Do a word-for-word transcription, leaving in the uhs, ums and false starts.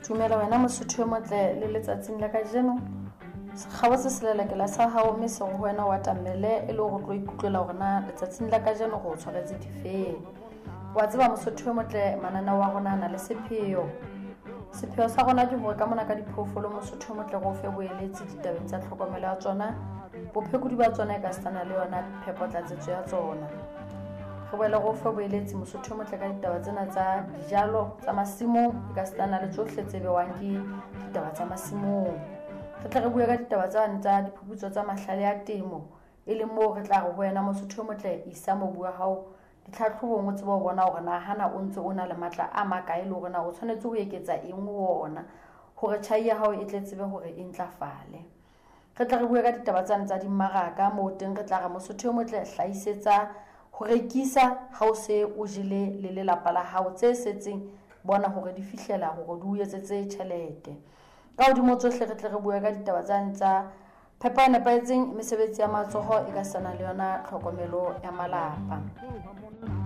Tumela wena Mosotho e motle le letsatsing la kajeno. Sekgabo se selelekela sa hao mme se ho wena wa tamele e le hore o tlo ikutlwela hore na letsatsing la kajeno go tshwaretse difeng. Wa tseba Mosotho e motle, mananeo wa rona a na le sepheo. Sepheo sa rona ke hore ka mona ka diphoofolo Mosotho e motle re o fe boeletsi ditabeng tsa tlhokomelo ya tsona, bophekodi ba tsona e ka sitana le yona phepotlatsetso ya tsona. Re boele re o fe boeletsi Mosotho e motle ka ditaba tsena tsa dijalo tsa masimong e ka sitana le tsohle tse bewang ke ditaba tsa masimong. Re tle re bue ka ditaba tsane tsa diphuputso tsa mahlale a temo, e leng moo re tla re ho wena Mosotho e motle isa mobu wa hao ditlhatlhobong o tsebe ho bona hore na hana o ntse o na le matla a makae le hore na o tshwanetse ho eketsa eng ho ona hore tjhai ya hao e tle tsebe hore e ntlafale. Re tle re bue ka ditaba tsane tsa dimmaraka, moo teng re tla re Mosotho e motle hlahisetsa ho rekisa ha o se o jele le lelapa la hao, tse setseng bona hore di fihlela hore di o etsetse tjhelete. Ka hodimo tsohle re tle re bue ka ditaba tsane tsa phepo e nepahetseng, mesebetsi ya matsoho e ka sana le yona tlhokomelo ya malapa.